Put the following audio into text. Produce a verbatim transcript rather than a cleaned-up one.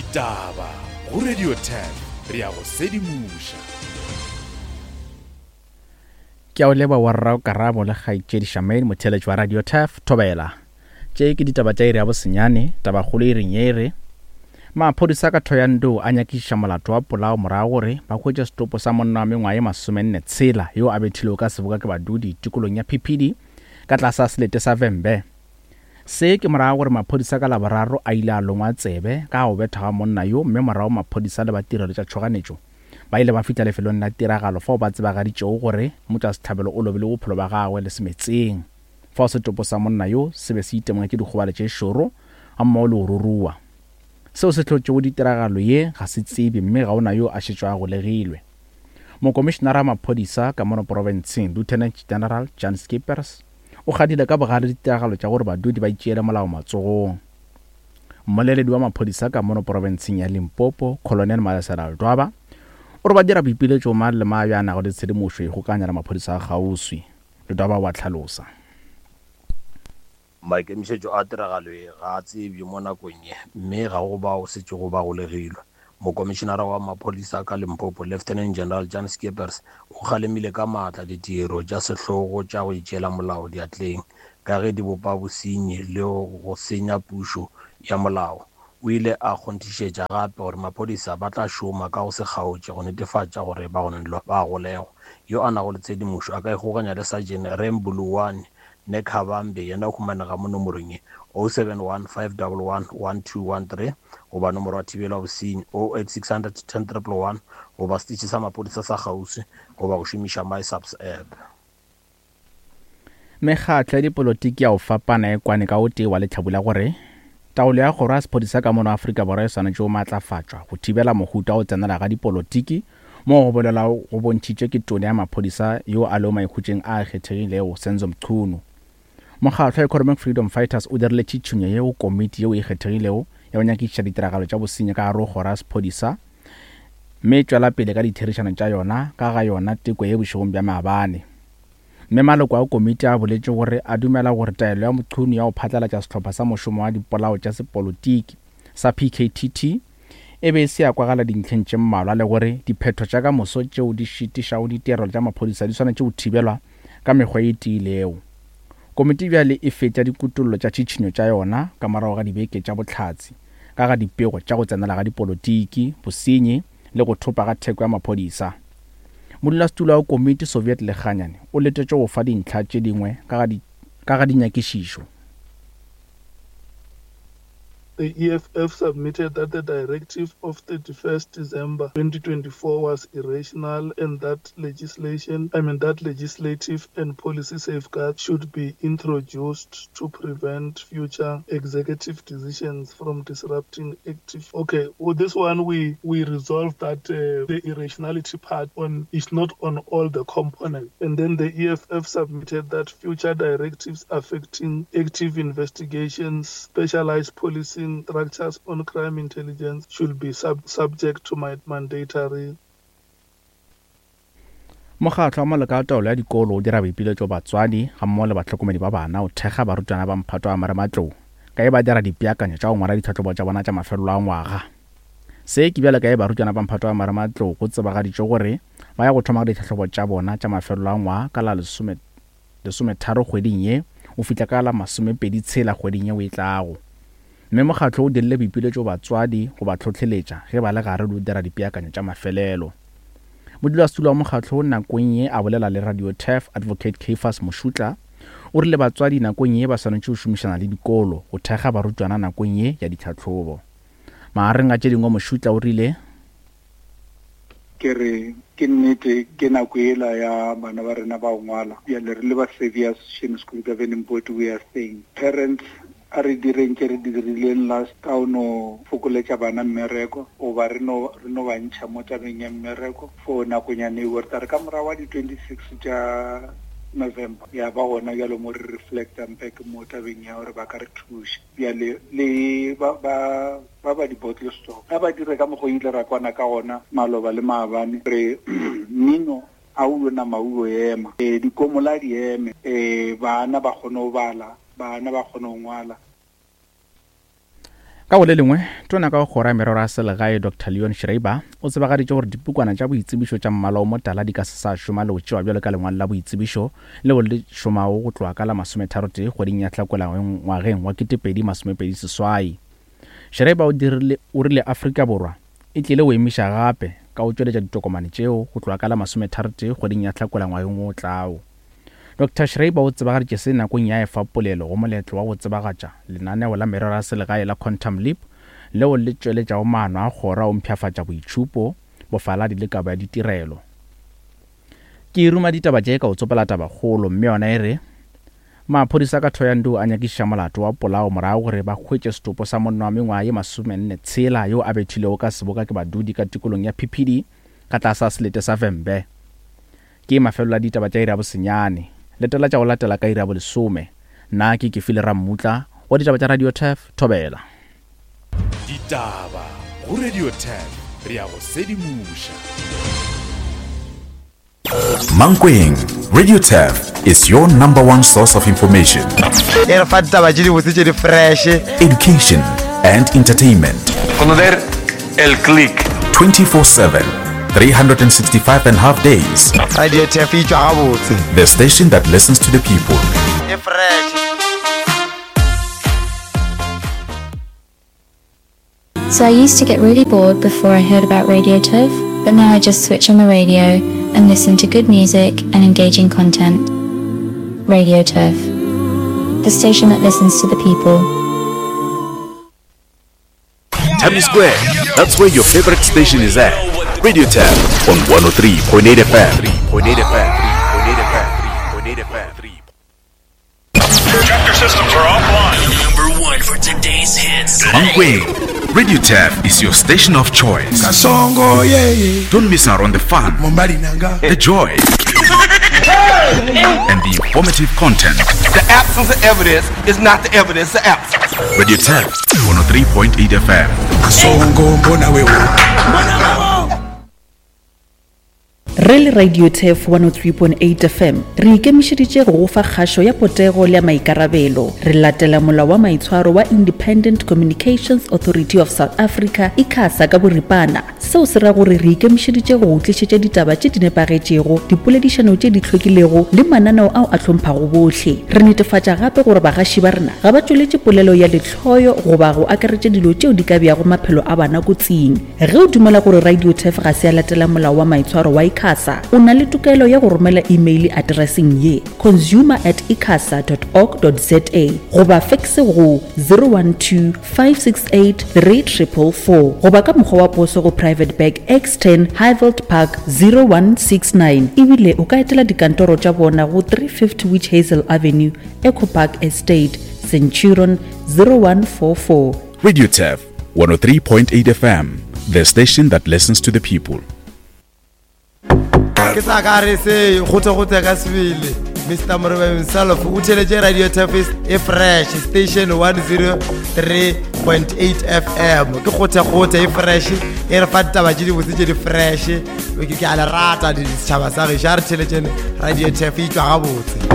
Ditaba go Radio ten re ya go sedimoša. Ke a o leba wa rrago Karabo le kgaetšedi Shamaine motheeletši wa Radio Turf Thobela. Tše ke ditaba tša iri ya bosenyane, tabakgolo e reng ye e re maphodisa ka Thohoyandou a nyakišiša molato wa polao morago gore ba hwetše setopo sa monna wa mengwaga ye masomenne tshela yo a bethilwego ka seboka ke badudi tikolong ya Phiphidi ka tlase ga selete sa Vhembe. Se ke morago gore maphodisa ka Laboraro a ile a longwa tsebe ka go bethwa ga monna yo mme morago maphodisa le ba tirelo tša tšhoganetšo ba ile ba fihla lefelong la tiragalo fao ba tsebagaditšego gore motšwasehlabelo o lobile bophelo bja gagwe le semetseng. Fao setopo sa monna yo se be se itemogetše dikgobalo tše šoro gammogo le go ruruwa. Seo se hlotšego ditiragalo ye ga se tsebe mme ga ona yo a šetšego a golegilwe. Mokomišenara wa maphodisa ka mono profenseng Lieutenant General Jan Schippers o kgadile ka bogale ditiragalo tša gore badudi ba itšeele molao matsogong. Mmoleledi wa maphodisa ka mono profenseng ya Limpopo Colonel Malesela Ledwaba o re ba dira boipiletšo mang le mang yo a nago le tshedimošo e kgokaganya le maphodisa a kgauswi. Ledwaba wa hlalosa. Maikemišetšo a tiragalo ye ga a tsebje mo nakong ye mme ga go bao setšego ba golegilwe. Mokomišenara wa maphodisa ka Limpopo Lieutenant General Jan Schippers o kgalemile ka maatla ditiro tša sehlogo tša go itšeela molao diatleng ka ge di bopa bosenyi le go senya pušo ya molao. O ile a kgonthišetša gape gore maphodisa ba tla šoma ka go se kgaotše go netefatša gore bagononelwa ba golegwa. Yo a nago le tshedimošo a ka ikgokaganya le Sergeant Rembuluwane Nekhabambe yena o humanega mo nomorong ye oh seven one five one one one two one three goba nomoro ya thibelo ya bosenyi oh eight six hundred ten triple one goba setitšhi sa maphodisa sa kgauswi goba go šomiša MySAPS app. Mekgatlo ya dipolotiki ya go fapana e kwane ka o tee wa lehlabula gore taolo ya kgoro ya sephodisa ka mono Afrika Borwa e swanetše go maatlafatšwa go thibela mohuta wa go tsenela ga dipolotiki mo go bolelwa go bontšhitšwe ke tona ya maphodisa yo a lego maikhutšeng a kgethegilego Senzo Mchunu. Mokgatlo wa Economic Freedom Fighters o dirile tšhitšhinyo ye go komiti yeo e kgethegilego ya go nyakišiša ditiragalo tša bosenyi ka gare go kgoro ya sephodisa mme e tšwela pele ka ditherišano tša yona ka ga yona teko ye bošegong bja maabane. Mme maloko a komiti a boletše gore a dumela gore taelo ya Mchunu ya go phatlalatša sehlopha sa mošomo wa dipolao tša sepolotiki sa P K T T e be e se ya kwagala dintlheng tše mmalwa le gore diphetho tša ka moso tšeo di šitišago ditirelo tša maphodisa di swanetše go thibelwa ka mekgwa e tiilego. Komiti bjale e fetša dikutollo tša tšhitšhinyo tša yona ka morago ga dibeke tša bohlatse ka ga dipego tša go tsenela ga dipolotiki, bosenyi le go thopa ga theko ya maphodisa. Modulasetulo wa komiti Soviet Lekganyane o letetše go fa dintlha tše dingwe ka ga dinyakišišo. The E F F submitted that the directive of thirty-first December twenty twenty-four was irrational and that legislation, I mean that legislative and policy safeguards should be introduced to prevent future executive decisions from disrupting active. Okay, well, this one we, we resolved that, uh, the irrationality part on is not on all the components. And then the E F F submitted that future directives affecting active investigations, specialized policing structures on crime intelligence should be sub- subject to my mandatory. Mokgatlo wa maloko a taolo ya dikolo o dira boipiletšo batswadi gammogo le bahlokomedi ba bana go thekga barutwana ba mphato wa marematlou ka e ba dira dipeakanyo tša go ngwala ditlhahlobo tša bona tša mafelelo a ngwaga. Se ke bjalo ka e barutwana ba mphato wa marematlou go tsebagaditšwe gore ba ya go thoma ditlhahlobo tša bona tša mafelelo a ngwaga ka la lesome lesometharo kgweding ye o fihla ka la masomepedi tshela kgweding yeo e tlago. Mme mokgatlo o dirile boipiletšo batswadi go ba hlohleletša ge ba le gare le go dira dipeakanyo tša mafelelo. Modulasetulo wa mokgatlo nakong ye a bolela le Radio Turf Advocate Caiphus Moshutla o rile batswadi nakong ye ba swanetše go šomišana le dikolo go thekga barutwana nakong ye ya ditlhahlobo. Magareng a tše dingwe Moshutla o rile ke re ke nnete ke nako ela ya bana ba rena ba go ngwala. Bjale re le ba Xavier's Mission School Governing Board, we are saying parents a re direng tše re di dirileng last ka o no fokoletša bana mmereko goba re no re no ba ntšha mo tabeng ya mmereko for nakonyana eo. Re tla re ka morago wa di twenty-six tša November ya ba gona bjalo mo re reflectang back mo tabeng ya gore ba ka re thuša. Bjale le ba ba ba ba di-bottle stock ga ba dire ka mokgwa o ile ra kwana ka gona maloba le maabane re mmino a o nama o ema, e dikomola di eme, e bana ba kgone go bala, bana ba kgone go ngwala. Ka go le lengwe, tona ka go kgoro ya merero ya selegae Doctor Leon Schreiber o tsebagaditše gore dipukwana tša boitsebišo tša mmala o motala di ka se sa šoma le go tšewa bjalo ka lengwalo la boitsebišo leo le šomago go tloga ka la masometharotee kgweding ya Hlakola ngwageng wa ketepedi masomepedi seswai. Schreiber o dirile o rile Afrika Borwa e tlile go emiša gape ka go tšweletša ditokomane tšeo go tloga ka la masometharotee kgweding ya Hlakola ngwageng o tlago. Doctor Schreiber o tsebagaditše se nakong ya efa polelo go moletlo wa go tsebagatša lenaneo la merero ya selegae la Quantum Leap leo le tšweletšago maano a kgoro a go mpshafatša boitšhupo, bofaladi le kabo ya ditirelo. Ke ruma ditaba tše ka go tsopela tabakgolo, mme yona e re maphodisa ka Thohoyandou a nyakišiša molato wa polao morago gore ba hwetše setopo sa monna wa mengwaga ye masomenne tshela yo a bethilwego ka seboka ke badudi ka tikolong ya Phiphidi ka tlase selete sa Vhembe. Ke mafelelo a ditaba tša iri ya bosenyane. Letela tša go latela ka iri ya bolesome. Nna ke Kefile Rammutla wa ditaba tša Radio Turf, Thobela. Ditaba go Radio Turf, re ya go sedimoša. Mankweng, Radio Turf is your number one source of information, E re fa ditaba tše dibotse tše di fresh. education, and entertainment. Conocer el click. twenty-four seven, three hundred and sixty-five and a half days. Radio Turf e tšwa gabotse. The station that listens to the people. E fresh. So I used to get really bored before I heard about Radio Turf, but now I just switch on the radio and listen to good music and engaging content. Radio Turf, the station that listens to the people. Times Square, that's where your favorite station is at. Radio Turf on one oh three point eight F M. three point eight F M. three point eight F M. three point eight F M. Projector systems are offline. Number one for today's hits. Mankweng, Radio Turf is your station of choice. Kasongo, yeah, yeah. Don't miss out on the fun, Mombali nanga. the joy, and the informative content. The absence of evidence is not the evidence of absence. Radio Turf one oh three point eight F M. Kasongo, mbona wewe. Re le Radio Turf one oh three point eight F M, re ikemišeditše go go fa kgašo ya potego le ya maikarabelo. Re latela molao wa maitshwaro wa Independent Communications Authority of South Africa, ICASA ka boripana. Seo se ra gore re ikemišeditše go go tlišetša ditaba tše di nepagetšego, dipoledišano tše di hlwekilego le mananeo ao a hlomphago bohle. Re netefatša gape gore bagaši ba rena ga ba tšweletše polelo ya lehloyo goba go akaretša dilo tšeo di ka beago maphelo a bana kotsing. Ge o dumela gore Radio Turf ga se ya latela molao wa maitshwaro wa ICASA, o na le tokelo ya go romela email addresseng ye consumer at icasa dot org dot za goba fax go zero one two, five six eight, three triple four goba ka mokgwa wa poso go Private Bag X ten Highveld Park zero one six nine. Ebile o ka etela dikantoro tša bona go three fifty Witch Hazel Avenue, Echo Park Estate, Centurion zero one four four. Radio Turf one oh three point eight F M, the station that listens to the people. Ke sa ka re se gote-gote ka sebele. Mister Moriba himself o theletše Radio Turf e fresh station one zero three point eight F M. Ke gote-gote e fresh, e re fa ditaba tše dibotse tše di fresh. Ke, ke a le rata setšhaba sa gešo, a re theletšeng Radio Turf e tšwa gabotse.